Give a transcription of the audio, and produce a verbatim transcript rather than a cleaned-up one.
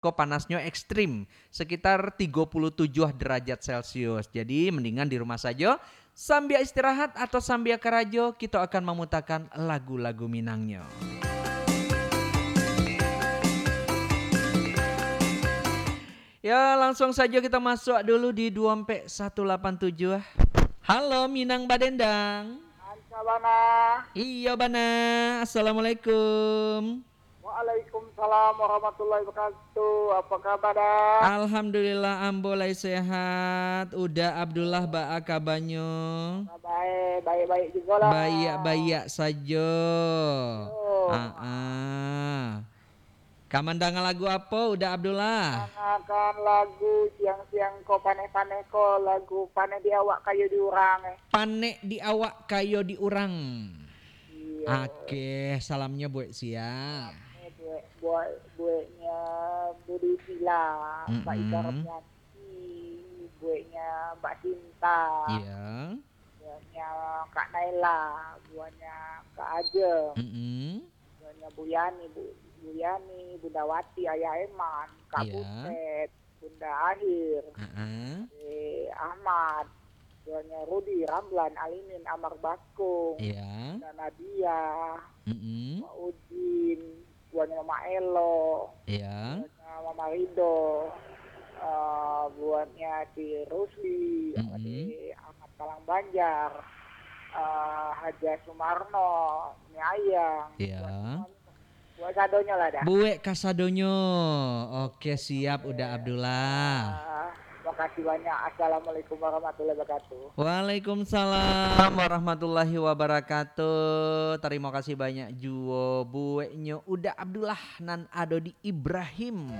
ko panasnyo ekstrim, sekitar tigo puluh tujuh derajat Celcius. Jadi, mendingan di rumah sajo, sambia istirahat atau sambia karajo, kito akan mamutakan lagu-lagu Minangnyo. Ya, langsung sajo kito masuak dulu di dua ampek satu lapan tujuh. Halo, Minang Badendang. Anca bana. Iyo, bana. Assalamualaikum. Waalaikumsalam warahmatullahi wabarakatuh. Apa kaba, Da? Alhamdulillah, ambo lai sehat. Uda Abdullah, baa kabanyo? Baik, baik-baik jugolah. Baiak-baiak sajo. Oh. Ah, ah. Ka mandanga lagu apo, Uda Abdullah? Mandangakan lagu siang-siang ko, paneh-paneh ko, lagu Panek di Awak Kayo di Urang, eh. Panek di Awak Kayo di Urang. Iyo. Oke, salamnyo buek sia? Salamnyo buek, buek, bueknyo Budi Sila, Mbak Ika Mm-mm. Romianti, bueknyo Mbak Sinta. Iya. Bueknyo Kak Naila, bueknyo Kak Ajeng. Mm-mm. Bueknyo Bu Yani, Bu, Bu Yani, Bunda Wati, Ayah Eman, Kak Iya. Butet, Bunda Ahir, Heeh. Ade Ahmad, bueknyo Rudi, Ramlan, Alimin, Amar Bakung, Iya. Bunda Nadia, Mm-mm. Pak Udin, bueknyo Mama Elo, Iya. bueknyo Mama Rido, eh, bueknyo si Rusli, Mm-mm. Ade Ahmad Palang Banjar, eh, Haja Sumarno, Umi Ayang, Iya. buek sadonyo lah, Da. Buek kasadonyo. Oke, siap, Uda Abdullah. Ah, makasih banyak. Assalamualaikum warahmatullahi wabarakatuh. Waalaikumsalam warahmatullahi wabarakatuh. Tarimo kasih banyak juo bueknyo Uda Abdullah nan ado di Ibrahim.